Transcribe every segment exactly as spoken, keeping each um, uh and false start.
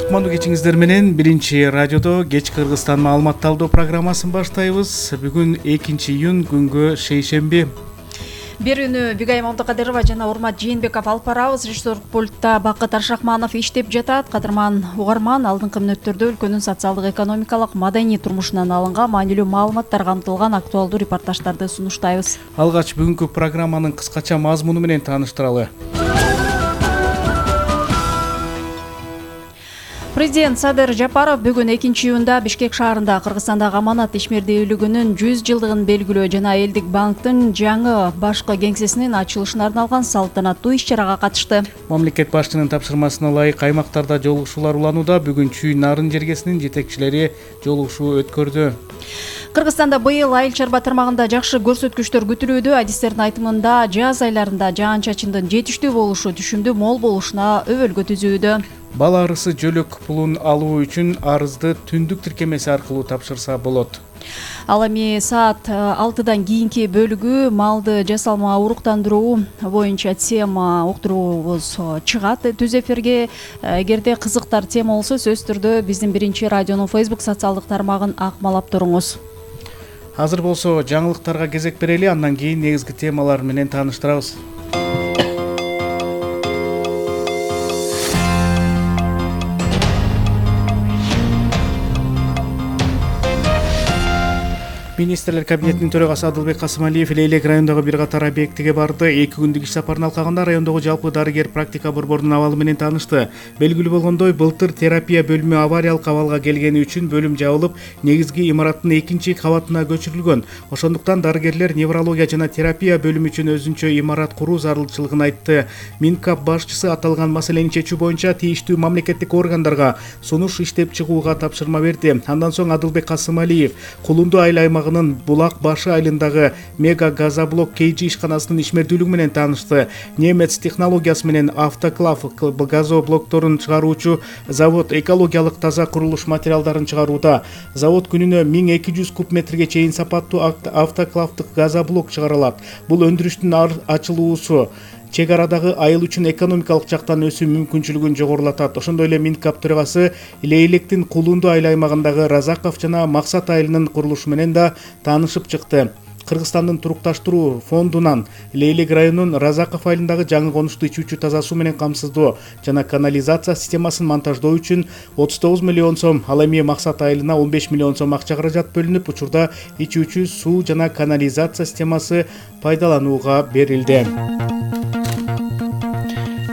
кутмандуу кечиңиздер менен биринчи радиодо кеч Кыргызстан маалымат алуу программасын баштайбыз. Бүгүн экинчи июнь, күнгө шейшемби. Берүүнү Бигайым Абдыкадырова жана Урмат Жээнбеков алып барабыз. Режиссер пультта Бакыт Аршакманов иштеп жатат. Кадырман угарман, алдыңкы мүнөттөрдө өлкөнүн социалдык, экономикалык, маданий турмушунан алынган маанилүү маалыматтар камтылган актуалдуу репортаждарды сунуштайбыз. Алгач бүгүнкү программанын кыскача мазмуну менен тааныштыралы. Президент Садыр Жапаров бүгүн экинчи июнда Бишкек шаарында Кыргызстандагы аманат ишмердүүлүгүнүн жүз жылдыгын белгилөө жана Элдик банктын жаңы башкы кеңсесинин ачылышына арналган салтанаттуу иш-чарага катышты. Мамлекет башчынын тапшырмасына ылайык аймактарда жолугушуулар уланууда. Бүгүн Чүй нарын жергесинин жетекчилери жолугушуу өткөрдү. Кыргызстанда быйыл айыл-чарба тармагында жакшы көрсөткүчтөр күтүлүүдө. Адистердин айтымында жаз айларында жаан-чачындын жетиштүү болушу түшүмдүү мол болушуна өбөлгө түзүүдө. Бала арысы жөлөк пулун алуу үчүн арызды түндүк тиркемеси аркылуу тапшырса болот. Ал эми саат алтыдан кийинки бөлүгү малды жасалма уруктандыруу боюнча тема уктуруубуз чыгат түз эфирге. Эгерде кызыктар тема болсо, сөзсүз түрдө биздин биринчи радионун Facebook социалдык тармагын акмалап туруңуз. Азыр болсо жаңылыктарга кезек берели, андан кийин негизги темалар менен тааныштырабыз. Министрлер кабинетинин төрагасы Адылбек Касымалиев Лейлек районундагы бир катар объектиге барды. эки күндүк иш сапарын алкаганда райондогу жалпы дарыгер практика борборунун абалы менен таанышты. Белгилүү болгондой, былтыр терапия бөлүмү авариялык абалга келгени үчүн бөлүм жабылып, негизги имараттын экинчи кабатына көчүрүлгөн. Ошондуктан дарыгерлер неврология жана терапия бөлүмү үчүн өзүнчө имарат куруу зарылчылыгын айтты. Минкап башчысы аталган маселени чечүү боюнча тийиштүү мамлекеттик органдарга сунуш иштеп чыгууга тапшырма берди. Андан соң Адылбек Касымалиев Кулунду айыл аймагы Булак башы айылындагы мега газоблок Кейжи ишканасынын ишмердүүлүгү менен таанышты. Немец технологиясы менен автоклав газоблокторун чыгаруучу завод экологиялык таза курулуш материалдарын чыгарууда. Завод күнүнө миң эки жүз куб метрге чейин сапаттуу автоклавдык газоблок чыгара алат. Бул өндүрүштүн ачылуусу чек арадагы айыл үчүн экономикалык жактан өсүү мүмкүнчүлүгүн жогорулатат. Ошондой эле Минкап төрагасы Лейлектин Кулунду айыл аймагындагы Разаков жана Максат айылынын курулушу менен да таанышып чыкты. Кыргызстандын турукташтыруу фондунан Лейлек районунун Разаков айылындагы жаңы конушту ичүүчү таза суу менен камсыздоо жана канализация системасын монтаждоо үчүн отуз тогуз миллион сом, ал эми Максат айылына он беш миллион сом акча каражат бөлүнүп, учурда ичүүчү суу жана канализация системасы пайдаланууга берилди.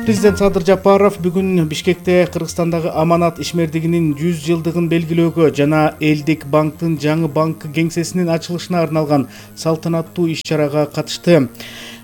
Президент Садыр Жапаров бүгүн Бишкекте Кыргызстандагы аманат ишмердигинин жүз жылдыгын белгилөөгө жана Элдик банктын жаңы банк кеңсесинин ачылышына арналган салтанаттуу иш-чарага катышты.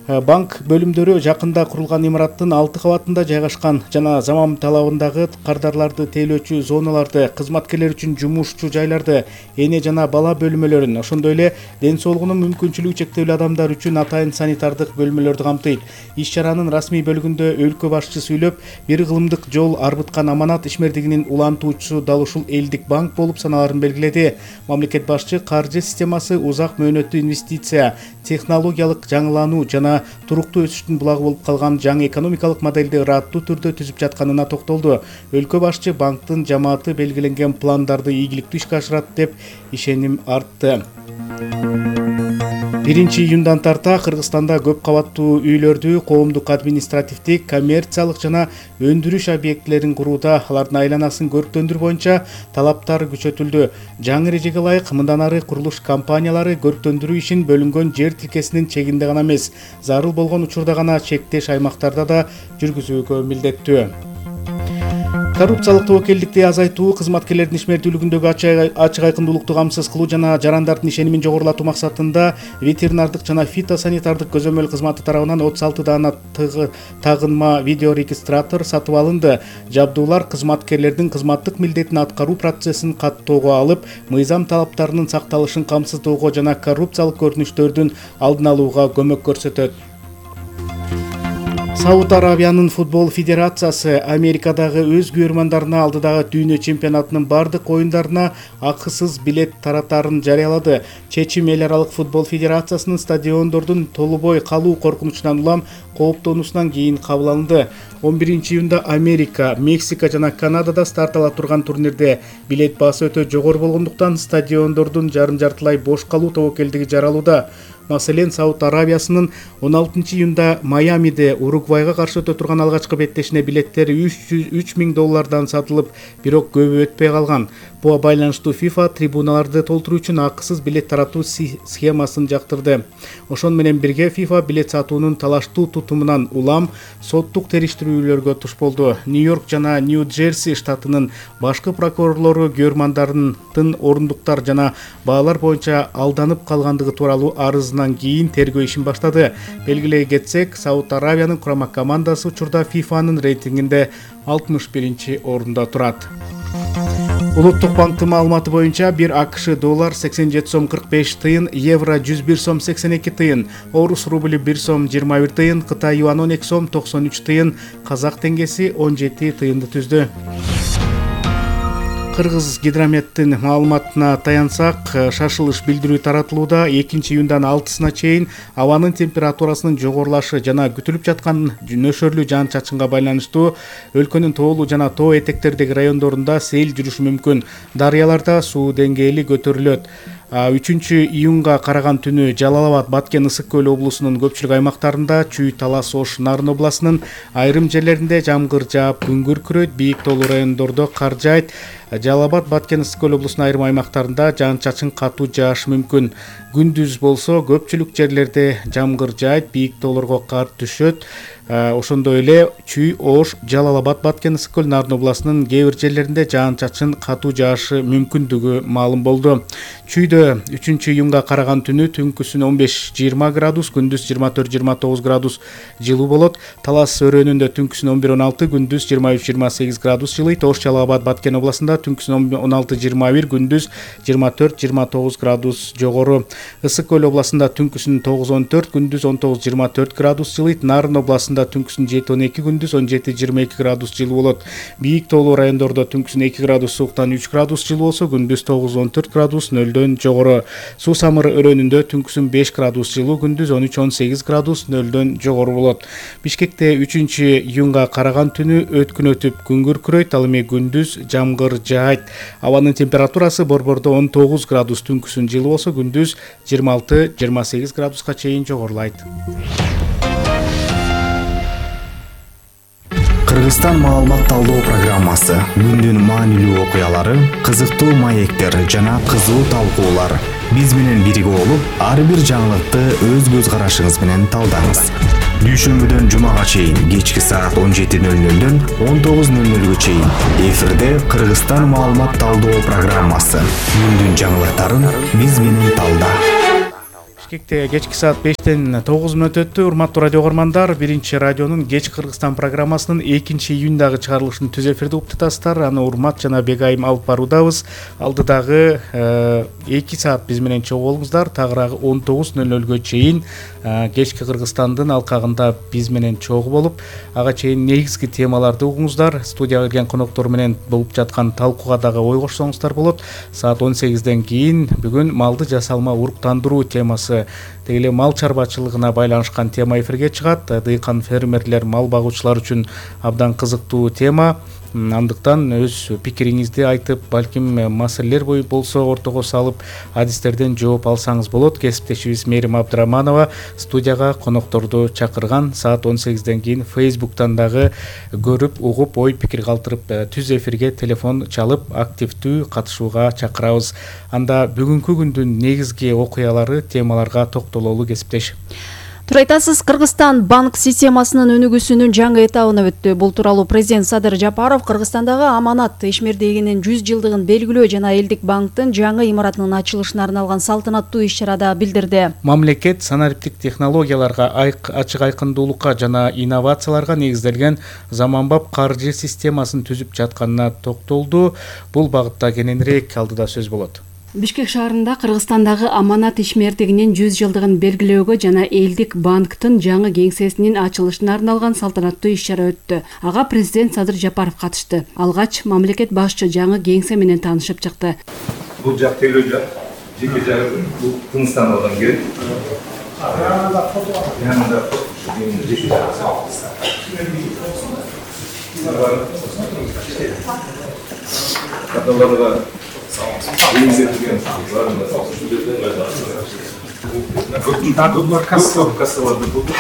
Банк бөлүмдөрү жакында курулган имараттын алты кабатында жайгашкан жана заман талабындагы кардарларды тейлөөчү зоналарды, кызматкерлер үчүн жумушчу жайларды, эне жана бала бөлмөлөрүн, ошондой эле ден соолугунун мүмкүнчүлүгү чектелүү адамдар үчүн атайын санитардык бөлмөлөрдү камтыйт. Иш-чаранын расмий бөлүгүндө өлкө башчысы сүйлөп, бир кылымдык жол арбыткан аманат ишмердигинин улантуучусу дал ушул Элдик банк болуп саналарын белгиледи. Мамлекет башчы каржы системасы узак мөөнөттүү инвестиция, технологиялык жаңылануу жана туруктуу өсүштүн булагы болуп калган жаңы экономикалык моделди ыраттуу түрдө түзүп жатканына токтолду. Өлкө башчы банктын жамааты белгиленген пландарды ийгиликтүү ишке ашырат деп ишеним артты. биринчи июндан тарта Кыргызстанда көп кабаттуу үйлөрдү коомдук, административдик, коммерциялык жана өндүрүш объектилерин курууда алардын айланасын көрктөндүрүү боюнча талаптар күчөтүлдү. Жаңы эрежеге ылайык мындан ары курулуш компаниялары көрктөндүрүү ишин бөлүнгөн жер тилкесинин чегинде гана эмес, зарыл болгон учурда гана чектеш аймактарда да жүргүзүүгө милдеттүү. Коррупциялык тобокелдикти азайтуу, кызматкерлердин ишмердүүлүгүндөгү ачык айкындуулукту камсыз кылуу жана жарандардын ишенимин жогорулатуу максатында ветеринардык жана фитосанитардык көзөмөл кызматы тарабынан отуз алты даана тагынма видеорегистратор сатып алынды. Жабдуулар кызматкерлердин кызматтык милдетин аткаруу процессин каттоого алып, мыйзам талаптарынын сакталышын камсыздоого жана коррупциялык көрүнүштөрдүн алдын алууга көмөк көрсөтөт. Сауд Арабиянын футбол федерациясы Америкадагы өз күйөрмандарына алдыдагы дүйнө чемпионатынын бардык оюндарына акысыз билет таратаарын жарыялады. Чечим эл аралык футбол федерациясынын стадиондордун толубой калуу коркунучунан улам кооптонуусунан кийин кабыл алынды. он биринчи июнда Америка, Мексика жана Канадада старт ала турган турнирде билет баасы өтө жогору болгондуктан стадиондордун жарым-жартылай бош калуу тобокелдиги жаралууда. Маселен, Сауд Арабиясынын он алтынчы июнда Майамиде Уругвайга каршы өтө турган алгачкы беттешине билеттери үч миң доллардан сатылып, бирок көбү өтпөй калган. Буга байланыштуу FIFA трибуналарды толтуруу үчүн акысыз билет таратуу схемасын жактырды. Ошон менен бирге FIFA билет сатуунун талаштуу тутумунан улам соттук териштирүүлөргө туш болду. Нью-Йорк жана Нью-Джерси штатынын башкы прокурорлору күйөрмандардын орундуктар жана баалар боюнча алданып калгандыгы тууралуу арызынан кийин тергөө ишин баштады. Белгилей кетсек, Сауд Арабиянын курама командасы учурда FIFAнын рейтингинде алтымыш биринчи орунда турат. Улуттук банктын маалыматы боюнча бир АКШ доллар сексен жети сом кырк беш тыйын, евро жүз бир сом сексен эки тыйын, орус рубли бир сом жыйырма бир тыйын, Кытай юан он эки сом токсон үч тыйын, казак теңгеси он жети тыйынды түздү. Кыргыз гидрометтин маалыматына таянсак, шашылыш билдирүү таратылууда. экинчи июндан алтысына чейин абанын температурасынын жогорулашы жана күтүлүп жаткан нөшөрлүү жаан-чачынга байланыштуу өлкөнүн тоолуу жана тоо этектердеги райондорунда сел жүрүшү мүмкүн. Дарыяларда суу деңгээли көтөрүлөт. үчүнчү июнга караган түнү Жалал Абад, Баткен, Ысык көл облусунун көпчүлүк аймактарында, Чүй, Талас, Ош, Нарын областынын айрым жерлеринде жамгыр жаап, күн күркүрөйт, бийик тоолуу райондордо кар жаайт. Жалал Абад, Баткен, Ысык көл облусунун айрым аймактарында жаан-чачын катуу жаашы мүмкүн. Күндүз болсо көпчүлүк жерлерде жамгыр жаайт, бийик тоолорго кар түшөт. Ошондой эле Чүй, Ош, Жалал Абад, Баткен, Ысык көл, Нарын областынын кээ бир жерлеринде жаан-чачын катуу жаашы мүмкүндүгү маалым болду. Чүйдө үчүнчү июнга караган түнү түнкүсүн он беш жыйырма градус, күндүз жыйырма төрт жыйырма тогуз градус жылуу болот. Талас өрөөнүндө түнкүсүн он бир он алты, күндүз жыйырма үч жыйырма сегиз градус жылыйт. Ош, Жалал Абад, Баткен областында түнкүсүн он алты жыйырма бир, күндүз жыйырма төрт жыйырма тогуз градус жогору. Ысык көл областында түнкүсүн тогуз он төрт, күндүз он тогуз жыйырма төрт градус жылыйт. Нарын областында түнкүсүн жети он эки, күндүз он жети жыйырма эки градус жылуу болот. Бийик тоолуу райондордо түнкүсүн эки градус сууктан үч градус жылуу болсо, күндүз тогуз он төрт градус нөлдөн жогору. Суу самыр өрөөнүндө түнкүсүн беш градус жылуу, күндүз он үч он сегиз градус нөлдөн жогору болот. Бишкекте үчүнчү июнга караган түнү өткүн өтүп күн күркүрөйт, ал эми күндүз жамгыр жаайт. Абанын температурасы борбордо он тогуз градус түнкүсүн жылуу болсо, күндүз жыйырма алты жыйырма сегиз градуска чейин жогорулайт. Кыргызстан маалымат талдоо программасы, күндүн маанилүү окуялары, кызыктуу маектер жана кызуу талкуулар. Биз менен бирге болуп, ар бир жаңылыкты өз көз карашыңыз менен талдаңыз. Дүйшөмбүдөн жумага чейин кечки саат он жети нөл нөлдөн он тогуз нөл нөлгө чейин эфирде Кыргызстан маалымат талдоо программасы. Күндүн жаңылыктарын биз менен талда. Бишкекте кечки саат бештен тогуз мүнөт өттү. Урматтуу радио угармандар, биринчи радионун Кеч Кыргызстан программасынын экинчи июндагы чыгарылышын түз эфирде угуп жатасыздар. Аны Урмат жана Бегайым алып баруудабыз. Алдыдагы эки саат биз менен чогуу болуңуздар. Тагыраагы он тогуз нөл нөлгө чейин Кечки Кыргызстандын алкагында биз менен чогуу болуп, ага чейин негизги темаларды угуңуздар. Студияга келген коноктор менен болуп жаткан талкууга дагы ой кошсоңуздар болот. Саат он сегизден кийин бүгүн малды жасалма уруктандыруу темасы, деги эле мал чарбачылыгына байланышкан тема эфирге чыгат. Дыйкан фермерлер, мал багуучулар үчүн абдан кызыктуу тема. Андыктан өз пикириңизди айтып, балким маселелер бою болсо ортого салып, адистерден жооп алсаңыз болот. Кесиптешибиз Мээрим Абдыраманова студияга конокторду чакырган. Саат он сегизден кийин Фейсбуктан дагы көрүп, угуп, ой пикир калтырып, түз эфирге телефон чалып, активдүү катышууга чакырабыз. Анда бүгүнкү күндүн негизги окуялары, темаларга токтололу кесиптеш. Туура айтасыз, Кыргызстан банк системасынын өнүгүүсүнүн жаңы этабына өттү. Бул тууралуу президент Садыр Жапаров Кыргызстандагы аманат ишмердигинин жүз жылдыгын белгилөө жана элдик банктын жаңы имаратынын ачылышына арналган салтанаттуу иш-чарада билдирди. Мамлекет санариптик технологияларга, ачык айкындуулукка жана инновацияларга негизделген заманбап каржы системасын түзүп жатканына токтолду. Бул багытта кененирээк алдыда сөз болот. Бишкек шаарында Кыргызстандагы аманат ишмердигинин жүз жылдыгын белгилөөгө жана Элдик банктын жаңы кеңсесинин ачылышына арналган салтанаттуу иш-чара өттү. Ага президент Садыр Жапаров катышты. Алгач мамлекет башчы жаңы кеңсе менен таанышып чыкты. Бул жак тейлөө жак, жеке жагы бул Кыргызстан алган керек. Янында фото бар. Янында жеке жагы. Көптөн кассаларды булдук.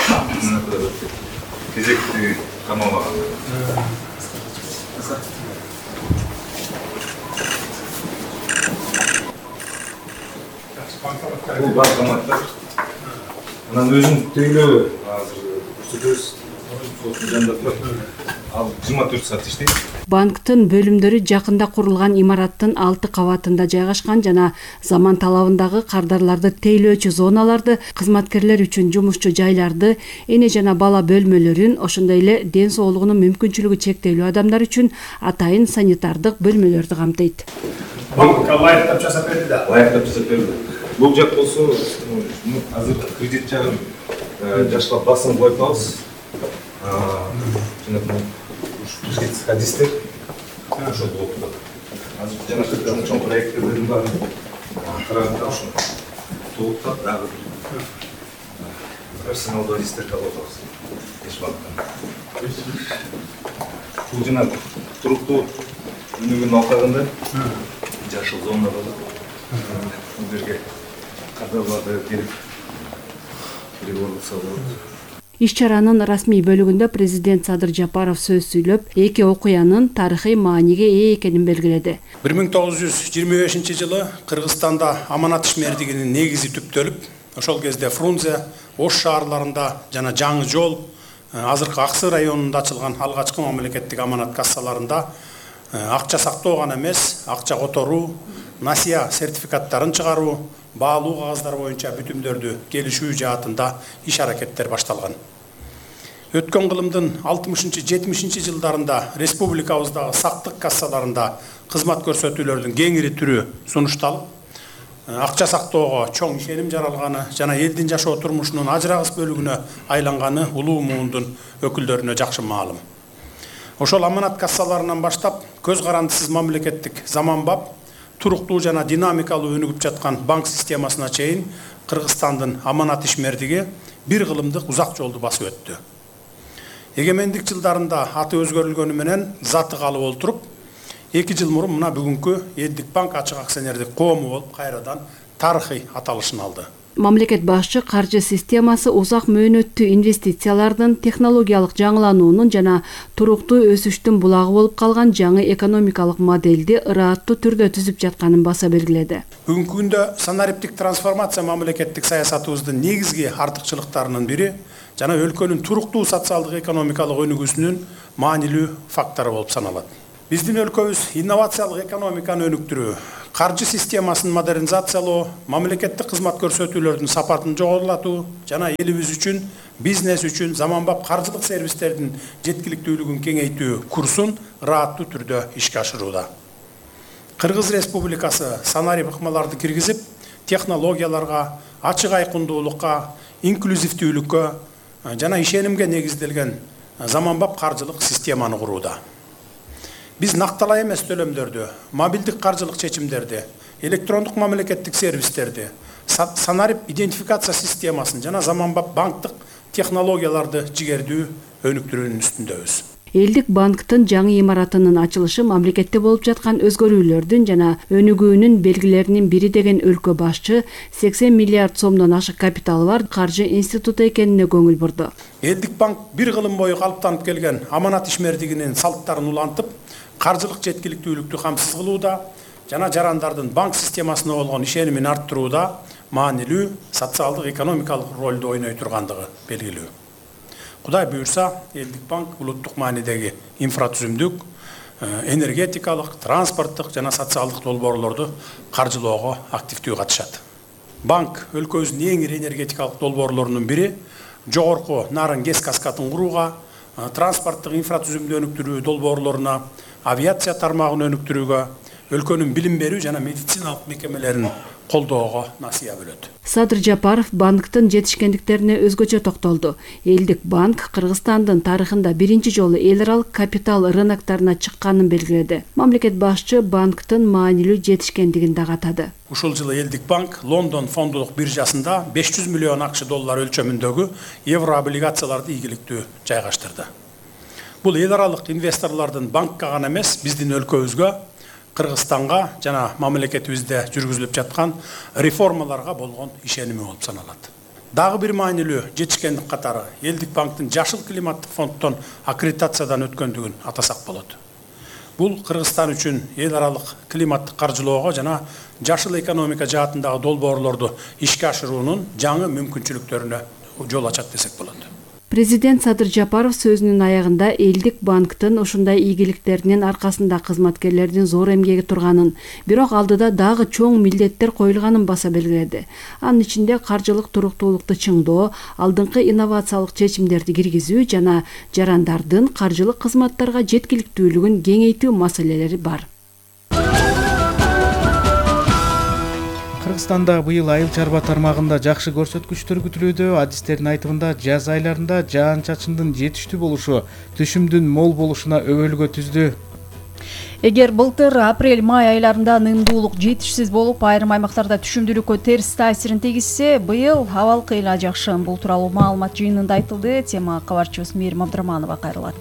Кезекти камалган. Бул банкоматтар. Анан өзүн тейлөө азыр көрсөтөбүз. Сосын жанында турат. Ал жыйырма төрт саат иштейт. Банктын бөлүмдөрү жакында курулган имараттын алты кабатында жайгашкан жана заман талабындагы кардарларды тейлөөчү зоналарды, кызматкерлер үчүн жумушчу жайларды, эне жана бала бөлмөлөрүн, ошондой эле ден соолугунун мүмкүнчүлүгү чектелүү адамдар үчүн атайын санитардык бөлмөлөрдү камтыйт. Банкка лайыктап жасап берди да. Лайыктап жасап берди. Бул жак болсо, азыр кредит жагын жашка басым коюп атабыз. Жана хадистер ошол болуп турат. Азыр жана чоң проекттердин баары караганда ошо толуп турат, дагы персоналдуу хадистер калып атабыз. Эч убакта. Бул жана туруктуу өнүгүүнүн алкагында жашыл зона бар. Бул жерге кардарларды келип переговорлошсо болот. Иш-чаранын расмий бөлүгүндө президент Садыр Жапаров сөз сүйлөп, эки окуянын тарыхый мааниге ээ экенин белгиледи. бир миң тогуз жүз жыйырма бешинчи жылы Кыргызстанда аманат ишмердигинин негизи түптөлүп, ошол кезде Фрунзе, Ош шаарларында жана Жаңы Жол, азыркы Аксы районунда ачылган алгачкы мамлекеттик аманат кассаларында акча сактоо гана эмес, акча которуу, насыя сертификаттарын чыгаруу, баалуу кагаздар боюнча бүтүмдөрдү келишүү жаатында иш-аракеттер башталган. Өткөн кылымдын алтымышынчы жетимишинчи жылдарында республикабыздагы сактык кассаларында кызмат көрсөтүүлөрдүн кеңири түрү сунушталып, акча сактоого чоң ишеним жаралганы жана элдин жашоо турмушунун ажырагыс бөлүгүнө айланганы улуу муундун өкүлдөрүнө жакшы маалым. Ошол аманат кассаларынан баштап көз карандысыз мамлекеттик заманбап, туруктуу жана динамикалуу өнүгүп жаткан банк системасына чейин Кыргызстандын аманат ишмердиги бир кылымдык узак жолду басып өттү. Эгемендик жылдарында аты өзгөрүлгөнү менен заты калып олтуруп, эки жыл мурун мына бүгүнкү Элдик банк ачык акционердик коому болуп кайрадан тарыхый аталышын алды. Мамлекет башчы каржы системасы узак мөөнөттүү инвестициялардын, технологиялык жаңылануунун жана туруктуу өсүштүн булагы болуп калган жаңы экономикалык модельди ырааттуу түрдө түзүп жатканын баса белгиледи. Бүгүнкү күндө санариптик трансформация мамлекеттик саясатыбыздын негизги артыкчылыктарынын бири жана өлкөнүн туруктуу социалдык экономикалык өнүгүүсүнүн маанилүү фактору болуп саналат. Биздин өлкөбүз инновациялык экономиканы өнүктүрүү, каржы системасын модернизациялоо, мамлекеттик кызмат көрсөтүүлөрдүн сапатын жогорулатуу жана элибиз үчүн, бизнес үчүн заманбап каржылык сервистердин жеткиликтүүлүгүн кеңейтүү курсун ырааттуу түрдө ишке ашырууда. Кыргыз Республикасы санарип ыкмаларды киргизип, технологияларга, ачык айкындуулукка, инклюзивдүүлүккө жана ишенимге негизделген заманбап каржылык системаны курууда. Биз накталай эмес төлөмдөрдү, мобилдик каржылык чечимдерди, электрондук мамлекеттик сервистерди, санарип идентификация системасын жана заманбап банктык технологияларды жигердүү өнүктүрүүнүн үстүндөбүз. Элдик банктын жаңы имаратынын ачылышы мамлекетте болуп жаткан өзгөрүүлөрдүн жана өнүгүүнүн белгилеринин бири деген өлкө башчы сексен миллиард сомдон ашык капиталы бар каржы институту экенине көңүл бурду. Элдик банк бир кылым бою калыптанып келген аманат ишмердигинин салттарын улантып, каржылык жеткиликтүүлүктү камсыз кылууда жана жарандардын банк системасына болгон ишенимин арттырууда маанилүү социалдык экономикалык ролду ойной тургандыгы белгилүү. Кудай буюрса, Элдик банк улуттук маанидеги инфратүзүмдүк, энергетикалык, транспорттук жана социалдык долбоорлорду каржылоого активдүү катышат. Банк өлкөбүздүн эң ири энергетикалык долбоорлорунун бири жогорку нарын гэс каскадын курууга, транспорттук инфратүзүмдү өнүктүрүү долбоорлоруна, авиация тармагын өнүктүрүүгө, өлкөнүн билим берүү жана медициналык мекемелерин колдоого насыя бөлөт. Садыр Жапаров банктын жетишкендиктерине өзгөчө токтолду. Элдик банк Кыргызстандын тарыхында биринчи жолу эл аралык капитал рыноктарына чыкканын белгиледи. Мамлекет башчы банктын маанилүү жетишкендигин дагы атады. Ушул жылы Элдик банк Лондон фондулук биржасында беш жүз миллион акча доллар өлчөмүндөгү евро облигацияларды ийгиликтүү жайгаштырды. Бул эл аралык инвесторлордун банкка гана эмес, биздин өлкөбүзгө, Кыргызстанга жана мамлекетибизде жүргүзүлүп жаткан реформаларга болгон ишеними болуп саналат. Дагы бир маанилүү жетишкендик катары Элдик банктын жашыл климаттык фонддон аккредитациядан өткөндүгүн атасак болот. Бул Кыргызстан үчүн эл аралык климаттык каржылоого жана жашыл экономика жаатындагы долбоорлорду ишке ашыруунун жаңы мүмкүнчүлүктөрүнө жол ачат десек болот. Президент Садыр Жапаров сөзүнүн аягында Элдик банктын ушундай ийгиликтеринин аркасында кызматкерлердин зор эмгеги турганын, бирок алдыда дагы чоң милдеттер коюлганын баса белгиледи. Анын ичинде каржылык туруктуулукту чыңдоо, алдыңкы инновациялык чечимдерди киргизүү жана жарандардын каржылык кызматтарга жеткиликтүүлүгүн кеңейтүү маселелери бар. Кыргызстанда быйыл айыл чарба тармагында жакшы көрсөткүчтөр күтүлүүдө. Адистердин айтымында жаз айларында жаан-чачындын жетиштүү болушу түшүмдүн мол болушуна өбөлгө түздү. Эгер былтыр апрель-май айларында нымдуулук жетишсиз болуп, айрым аймактарда түшүмдүүлүккө терс таасирин тийгизсе, быйыл абал кыйла жакшы. Бул тууралуу маалымат жыйынында айтылды. Тема кабарчыбыз Мээрим Абдыраманова кайрылат.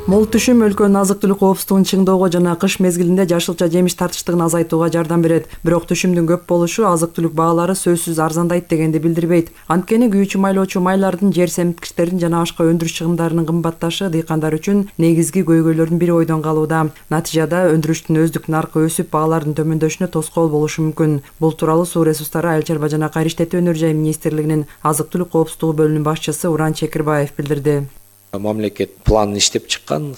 Мол түшүм өлкөнүн азык-түлүк коопсуздугун чыңдоого жана кыш мезгилинде жашылча жемиш тартыштыгын азайтууга жардам берет. Бирок түшүмдүн көп болушу азык-түлүк баалары сөзсүз арзандайт дегенди билдирбейт. Анткени күйүүчү майлоочу майлардын, жер семиткичтердин жана башка өндүрүш чыгымдарынын кымбатташы дыйкандар үчүн негизги көйгөйлөрдүн бири ойдон калууда. Натыйжада өндүрүштүн өздүк наркы өсүп, баалардын төмөндөшүнө тоскоол болушу мүмкүн. Бул тууралуу Суу ресурстары, айыл чарба жана кайра иштетүү өнөр жай министрлигинин азык-түлүк коопсуздугу бөлүмүнүн башчысы Уран Чекирбаев билдирди. Мамлекет планын иштеп чыккан,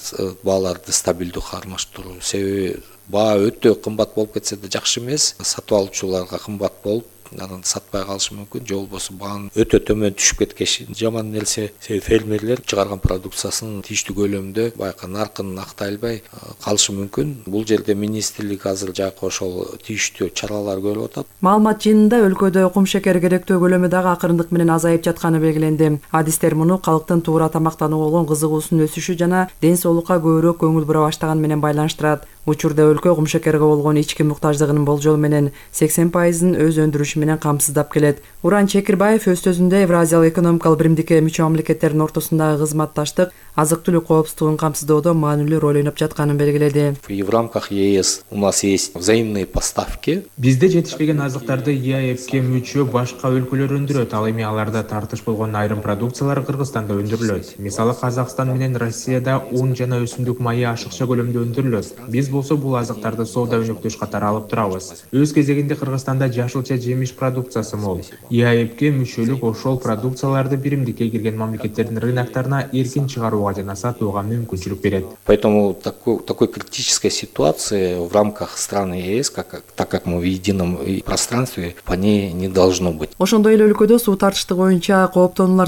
бааларды стабилдүү кармаштыруу. Себеби баа өтө кымбат болуп кетсе да жакшы эмес, сатып алуучуларга кымбат болуп, анан сатпай калышы мүмкүн, же болбосо баанын өтө төмөн түшүп кеткеши жаман нерсе. Фермерлер чыгарган продукциясын тийиштүү көлөмдө байкы наркын актай албай калышы мүмкүн. Бул жерде министрлик азыр жакы ошол тийиштүү чаралар көрүп атат. Маалымат жыйынында өлкөдө кум шекери керектөө көлөмү дагы акырындык менен азайып жатканы белгиленди. Адистер муну калктын туура тамактанууга болгон кызыгуусунун өсүшү жана ден соолукка көбүрөөк көңүл бура баштаганы менен байланыштырат. Учурда өлкө кум шекерге болгон ички муктаждыгынын болжол менен сексен пайызын өз өндүрүшү менен камсыздап келет. Уран Чекирбаев өз сөзүндө Евразиялык экономикалык биримдикке мүчө мамлекеттердин ортосундагы кызматташтык азык-түлүк коопсуздугун камсыздоодо маанилүү роль ойноп жатканын белгиледи. И в рамках ЕС у нас есть взаимные поставки. Бизде жетишпеген азыктарды ЕАЭПке мүчө башка өлкөлөр өндүрөт. Ал эми аларда тартыш болгон айрым продукциялар Кыргызстанда өндүрүлөт. Мисалы Казакстан менен Россияда ун жана өсүмдүк майы ашыкча көлөмдө өндүрүлөт. Биз болсо бул азыктарды соода өнөктөш катары алып турабыз. Өз кезегинде Кыргызстанда жашылча жемиш продукциясы мол. ЕАЭПке мүчөлүк ошол продукцияларды биримдикке кирген мамлекеттердин рыноктарына эркин чыгарууга жана сатууга мүмкүнчүлүк берет. Поэтому такой, такой критической ситуации в рамках страны ЕС, как, так как мы в едином пространстве, по ней не должно быть. Ошондой эле өлкөдө суу тартыштыгы боюнча кооптонуулар